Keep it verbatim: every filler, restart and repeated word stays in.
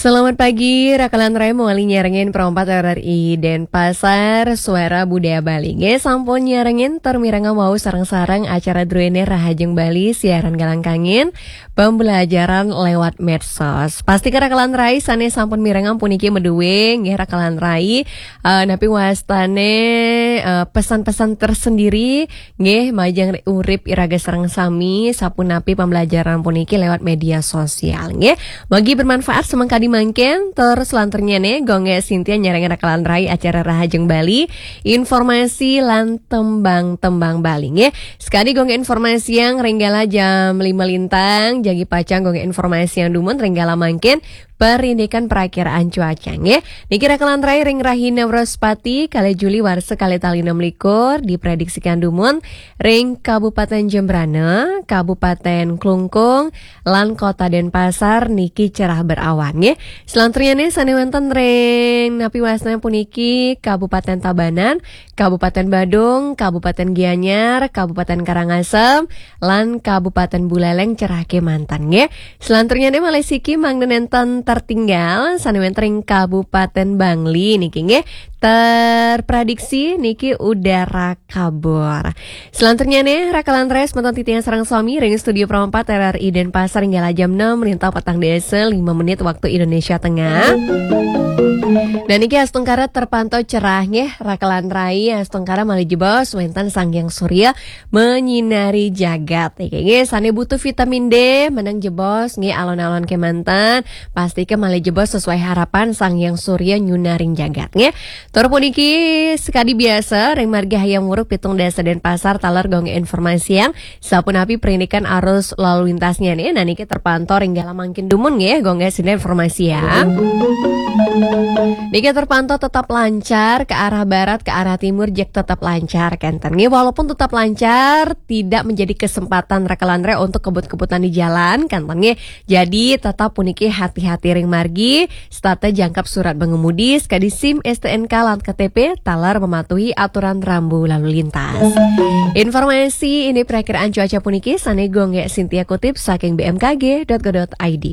Selamat pagi, Rakalan Rai mawali nyarengin Pro empat R R I Denpasar, Suara Budaya Bali. Nggih, sampun nyarengin tur mirengayang wau sareng-sareng acara druene Rahajeng Bali, siaran Galang Kangin, pembelajaran lewat medsos. Pasti ke Rakalan Rai sane sampun mirengayang puniki meduwe, nggih Rakalan Rai, eh, napi wastane, eh, pesan-pesan tersendiri, nggih, majeng urip iraga sareng sami, sapunapi pembelajaran puniki lewat media sosial, nggih. Mugi bermanfaat semengkadi mangkin, tur selanturnyane Gung Gek Sintia nyarengin Rakalan Rai acara Rahajeng Bali, informasi lan tembang-tembang Bali, nggih. Sekadi Gung Gek informasi yang ringgala jam lima lintang, jagi pacang Gung Gek informasi yang dumun ringgala mangkin, perindikan perakiraan cuaca, nggih. Niki Rakalan Rai ring rahina Wrespati, kalih Juli warsa kalih tali enam likur, diprediksikan dumun ring Kabupaten Jembrana, Kabupaten Klungkung, lan Kota Denpasar niki cerah berawan, nggih. Selanturnyane sane wenten ring napi wastane puniki Kabupaten Tabanan, Kabupaten Badung, Kabupaten Gianyar, Kabupaten Karangasem, lan Kabupaten Buleleng cerah kemanten, nggih. Selanturnyane malih siki mangda nenten tertinggal sane wenten ring Kabupaten Bangli niki, nggih. Terprediksi niki udara kabur. Selanturnyane Rakalan Rai semeton titiang sareng sami ring studio Pro empat R R I Denpasar nggih jam enam merinta petang dasa lima menit waktu Indonesia Tengah. Dan niki astungkara terpantau cerah, nggih, Rakalan Rai, astungkara malih jebos wenten Sang Hyang Surya menyinari jagat. Niki, nggih, sane butuh vitamin D, meneng jebos, nggih, alon-alon kemanten, pasti ke malih jebos sesuai harapan Sang Hyang Surya nyunaring jagat, nggih. Tur puniki sekadi biasa, ring margi Hayam Wuruk pitung dasa Denpasar taler Gung Gek informasi yang sapunapi perindikan arus lalu lintasnya nih. Nah, niki terpantau ringgala mangkin dumun, nggih, Gung Gek sida informasi yang. Niki terpantau tetap lancar ke arah barat, ke arah timur, jeg tetap lancar, kenten. Nggih, walaupun tetap lancar, tidak menjadi kesempatan Rakalan Rai untuk kebut-kebutan di jalan, kenten, nggih. Jadi, tetap puniki hati-hati ring margi, setata jangkep surat pengemudi, sekadi SIM, STNK, lan KTP, taler mematuhi aturan rambu lalu lintas. Informasi ini perakiraan cuaca puniki, sane Gung Gek Sintia kutip saking B M K G dot go dot I D.